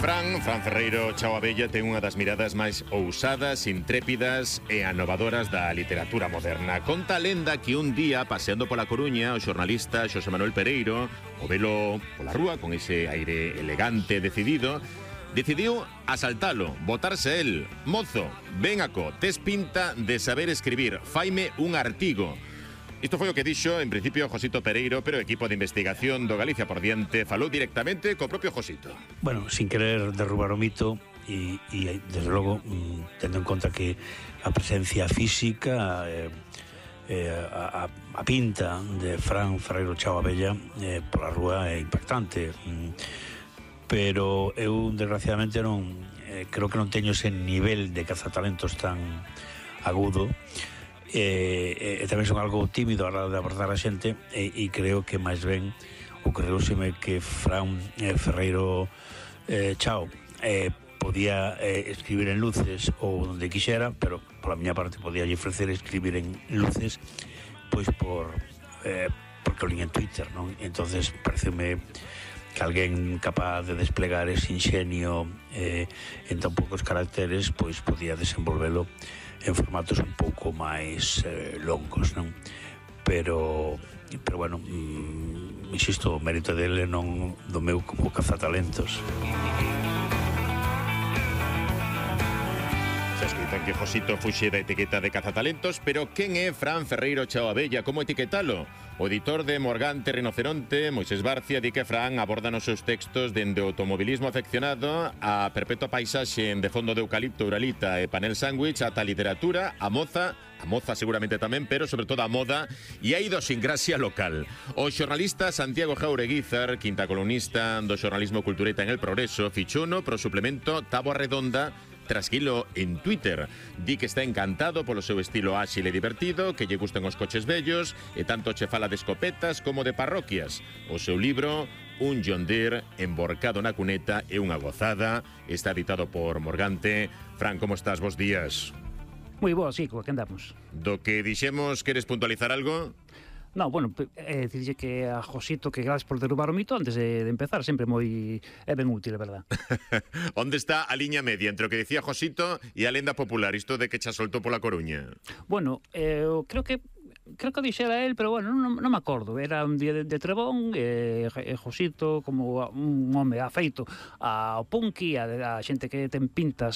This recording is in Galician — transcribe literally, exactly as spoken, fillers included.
Fran, Fran Ferreiro Chao Abella ten unha das miradas máis ousadas, intrépidas e anovadoras da literatura moderna. Conta a lenda que un día, paseando pola Coruña, o xornalista Xosé Manuel Pereiro, o velo pola rúa con ese aire elegante e decidido, decidiu asaltalo, botarse el. Mozo, ven aco, tes pinta de saber escribir, faime un artigo. Isto foi o que dixo, en principio, Josito Pereiro, pero o equipo de investigación do Galicia por diante falou directamente co propio Josito. Bueno, sin querer derrubar o mito e, e desde logo, tendo en conta que a presencia física, eh, eh, a, a pinta de Fran Ferreiro Chao Abella eh, pola rúa é impactante. Pero eu, desgraciadamente, non eh, creo que non teño ese nivel de cazatalentos tan agudo. E, e tamén son algo tímido a hora de abordar a xente e, e creo que máis ben ocorreuseme que Fran eh, Ferreiro eh, Chao eh, podía eh, escribir en luces ou onde quixera, pero pola miña parte podía ofrecer escribir en luces pois por eh, porque o lin en Twitter, non? Entonces pareceume que alguén capaz de desplegar ese ingenio eh, en tan poucos caracteres pois podía desenvolvelo en formatos un pouco máis eh, longos, non? Pero, pero bueno, mm, insisto, o mérito dele non do meu como cazatalentos. Se escritan que Josito fuxe da etiqueta de cazatalentos, pero quen é Fran Ferreiro Chao Abella? Como etiquetalo? O editor de Morgante Rinoceronte, Moisés Barcia, di que Fran aborda nos seus textos dende o automobilismo afeccionado a perpetua paisaxe de fondo de eucalipto, uralita e panel sándwich ata a literatura, a moza, a moza seguramente tamén, pero sobre todo a moda e a idiosincrasia local. O xornalista Santiago Jaureguizar, quinta columnista do xornalismo cultureta en El Progreso, fichouno pro suplemento Táboa Redonda trasquilo en Twitter. Di que está encantado polo seu estilo áxil e divertido, que lle gustan os coches vellos e tanto che fala de escopetas como de parroquias. O seu libro, Un John Deere emborcado na cuneta, é unha gozada. Está editado por Morgante. Fran, como estás? Bos días. Moi boa, sí, co que andamos. Do que dixemos, queres puntualizar algo? No, bueno, é dicirlle que a Josito que gracias por derrubar o mito antes de, de empezar, sempre moi é ben útil, é verdad. Onde está a liña media entre o que dicía Josito e a lenda popular, isto de que xa soltou pola Coruña? Bueno, eh, creo que creo que dixera el, pero bueno, non, non me acordo. Era un día de, de Trebón, e, e Josito, como un home afeito ao punky, a, a xente que ten pintas